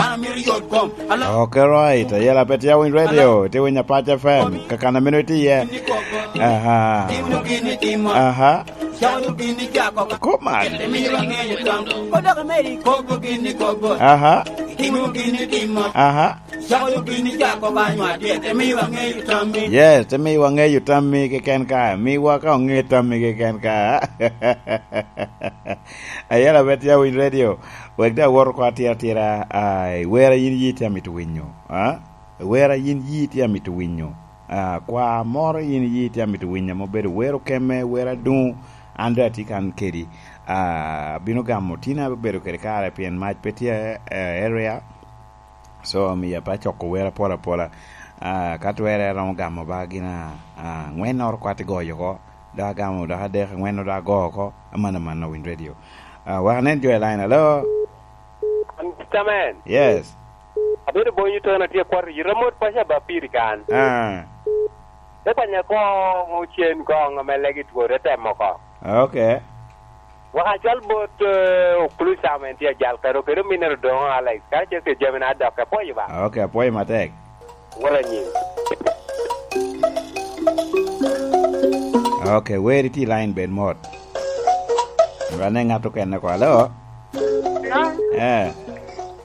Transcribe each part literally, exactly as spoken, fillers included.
Okay, right. Ayela pe tye awiny radio, tye winyo Apac F M. Kakana meno itye iye. Aha. Aha. Kop man. Aha. Aha. Yes, te miwa ŋeyo tammi keken ka. Miwa ka oŋe tammi keken ka. Ayela pe tye awiny radio. Wek daŋ awot oko atira atira, ah, wera yin yi tye amito winyo, ah? Wera yin yi tye amito winyo. Ah, kwa moro yin yi tye amito winyo, ame obedo wero keme, wero aduŋ, an daŋ atye kan kedi. Ah, abino gamo tin abedo kede kare pien mac pe tye, eh, area. So, omiyo pe acoko wer apol apola. Ah, ka twerre aromo gamo ba gin a, a, angwennoro kwat igoyo oko. Dok agamo dok adek, angwenno dok ago oko. Aman, aman, Win Radio. Ah, wek anen jo i line. Hello? Mister Man. Yes. Abedo bonyo tona tye kwat yita mot paco ba piri kan. Ah. Te kwanya ko ŋo cen koŋ ame legi two te temo ko. Okay. Wek acal bot, eh, Okulu Sam en tye ajal kado kede ominere Odoŋo Alex, karacel kede jami na dok, apwoyo ba. Okay, apwoyo matek. Wot anyim. Okay, weri tye i line bed mot. Wane ŋat okene ko. Hello? Hello? Eh.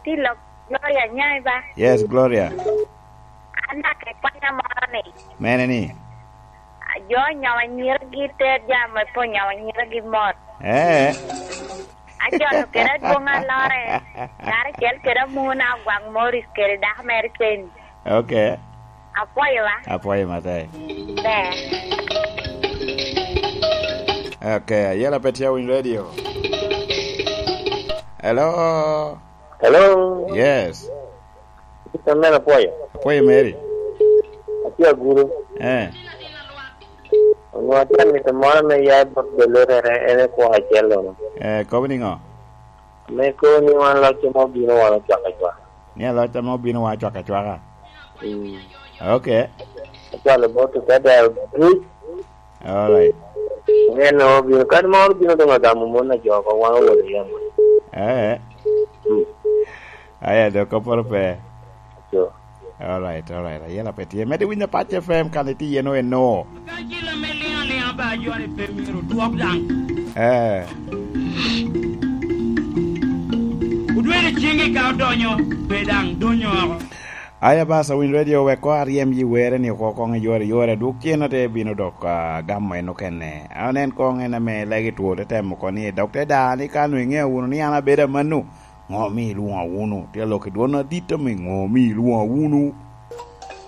Ti lok Gloria Nyai ba? Yes, Gloria. An daŋ akwanya moro ni. Mene ni? Jo onyomo anyiragi, ter jami me pwonyo anyiragi mot. Eh. Acalo kede adwoŋ alore, karacel kede amuna Ogwang Morris kede dako mere Kenny. Okay. Apwoyo wa. Apwoyo matek. Ber. Okay, ayela pe tye awiny radio. Hello? Hello? Yes. Mister Man, apwoyo. Apwoyo, Mary. Atye aguru. Eh. Onwoŋo atye amito moro me ya bot belotere, en e kwor acel-lono. Eh, kobo niŋo? Me kobo ni wan loc ame obino wan ocwak acwaka. Ni aloc ame obino wan ocwak acwaka? Mm. Okay. Acwalo bot okada duc. All right. En obino, kadi moro bino doŋ agamo mon a jo oko, wan owot i yamo. Eh. Mm. Aya, dok kopporo pe. Sure. All right, all right. Ayela pe tye. Mede winyo Apac F M kan itye yen eno. Ka cil ame liŋ aliŋa ba ajware pe myero dwok daŋ. Eh. Odwero ciŋgi ka odonyo, pe daŋ donyo oko. Aya, Basa, Win Radio, wek koŋ aryem yi were ni oko koŋ i yore, yore, dwok cen ate bino dok, ah, gamo en okene. Anen koŋ en ame legi two te temo oko ni, "Dok te da ni ka nwe iŋeo wunu ni an abedo amanno, ŋo mi ilwoŋa wunu?" Tye lok i dwon adit ame, "Ŋo mi ilwoŋa wunu?"